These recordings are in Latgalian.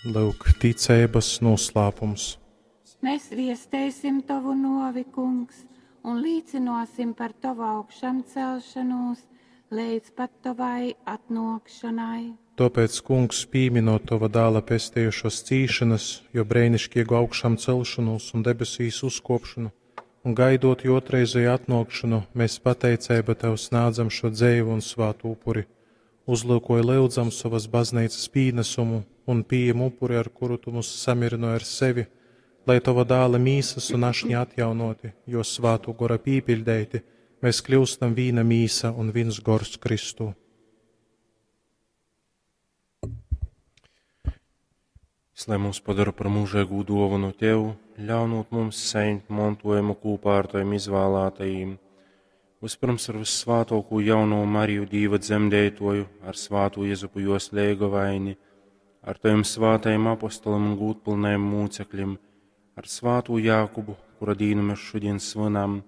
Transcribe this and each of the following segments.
Lyuk, ticeibas nūslāpums. Mēs viesteisim tovu novi, kungs, un līcināsim par tovu augšamcelšanos līdz pat tavai atnākšanai. Tāpēc, kungs, pīminot tova dēla pestījušos cīšanas, jo brēnišķīgu augšām celšanos un debesīs uzkopšanu, un gaidot jo otrreizēju atnākšanu, mēs pateicība tev snādzam šo dzēvu un svātu upuri. Uzlūkoja lyudzam savas baznīcas pīnesumu un pieejam upuri, ar kuru tu mūs samierināji ar sevi, lai tova dēla mīsas un ašņi atjaunoti, jo svātu gora pīpiļdeiti, mēs kļūstam vīna mīsa un viens gors Kristū. Lai mūs padara par mūžīgu dāvanu Tev, ļaunot mums saņemt mantojumu kopā ar Taviem izvēlētajiem. Vispirms ar vissvātāko jauno Mariju Dīva dzemdētoju, ar svāto Jezupu jos leigovaini, ar Taviem svātajiem apostoliem un gūtpilnajiem mūcekļiem, ar svāto Jākubu, kura dīnu mēs šodien svinam,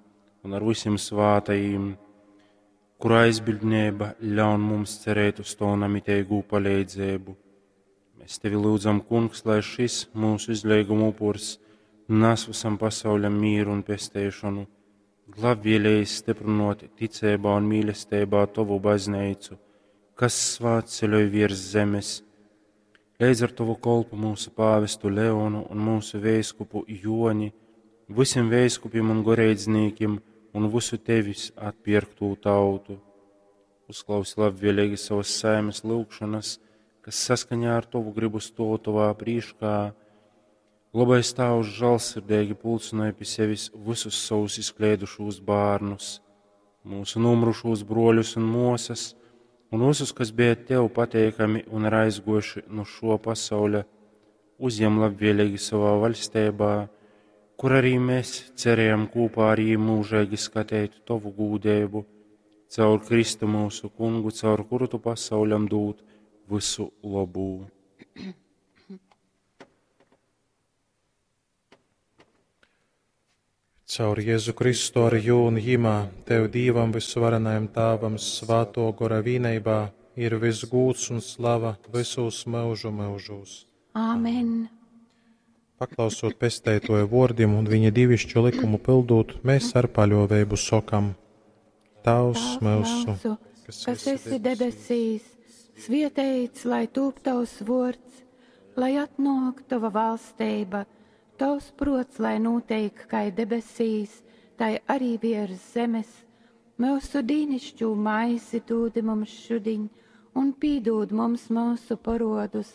un ar visiem svātajiem, kura aizbildnība ļaun mums cerēt uz to namitīgu palīdzību. Mēs tevi lūdzam, kungs, lai šis mūsu izlīguma upurs nes visam pasauļam mīru un pestēšanu, labvēlīgi stiprinot ticībā un mīlestībā tavu baznīcu, kas svātceļoj virs zemes, līdz ar tavu kolpu mūsu pāvestu Leonu un mūsu vēskupu Joni, visiem vēskupiem un goreidznīkiem un visu tevis atpirktu tautu. Uzklausi labvēlīgi savas saimes lūgšanas, kas saskaņā ar tavu gribu stāv tavā priekšā. Labais Tēvs žēlsirdīgi pulcināja pie sevis visus savus izkleidušos bērnus, mūsu nomrušos broļus un māsas, un visus, kas bija tev pateikami un ir aizgojuši no šo pasauļa, uzņem labvēlīgi savā valstībā, kur arī mēs cerējam kopā ar viņiem mūžīgi skatīt tavu gūdību, caur Kristu mūsu kungu, caur kuru tu pasauļam dūt visu labu. Caur Jēzu Kristu ar jū un jimā, Tev Dīvam visvarenajam Tāvam svāto gora vīneibā ir viss gūts un slava visos mūžu mūžos. Āmen! Paklausot pestētoja vārdiem un viņa divišķu likumu pildot, mēs ar paļāvību sokam: Tavs mūsu, kas esi debesīs, svietēts, lai tūp tavs vārds, lai atnāk tava valstība, tavs prots, lai notiek kā debesīs, tai arī virs zemes. Mūsu dīnišķū maisi dūdi mums šudiņ, un pīdūd mums mūsu parodus,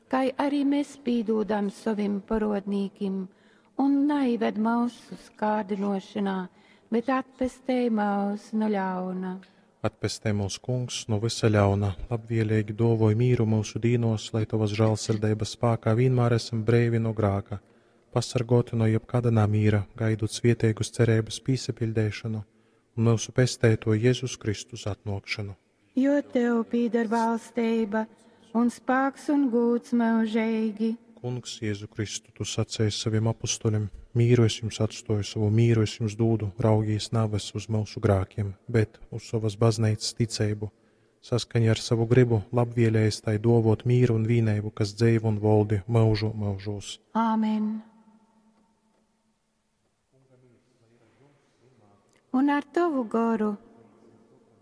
kā arī mēs pīdūdam savim parodnīkim, un naived mūsu kārdinošanā, bet atpestē mūs no ļauna. Atpestē mūs, kungs, no visa ļauna, labvēlīgi dovoj mīru mūsu dīnos, lai tavas žēlsirdības spēkā vienmēr esam breivi no grāka, pasargoti no jebkāda namīra, gaidot svietēgus cerības pīsapildēšanu un mūsu pestēto Jēzus Kristus atnākšanu. Jo tev pīdar valstība un spēks un gūts mūžīgi. Kungs, Jēzu Kristu, tu sacēji saviem apustuļiem, mīru es jums atstoju, savu mīru es jums dūdu, raugīs naves uz mūsu grākiem, bet uz savas baznīcas ticību, saskaņā ar savu gribu, labvēlējis tai dovot mīru un vīnību, kas dzēv un voldi mūžu mūžos. Āmen! Un ar tavu goru.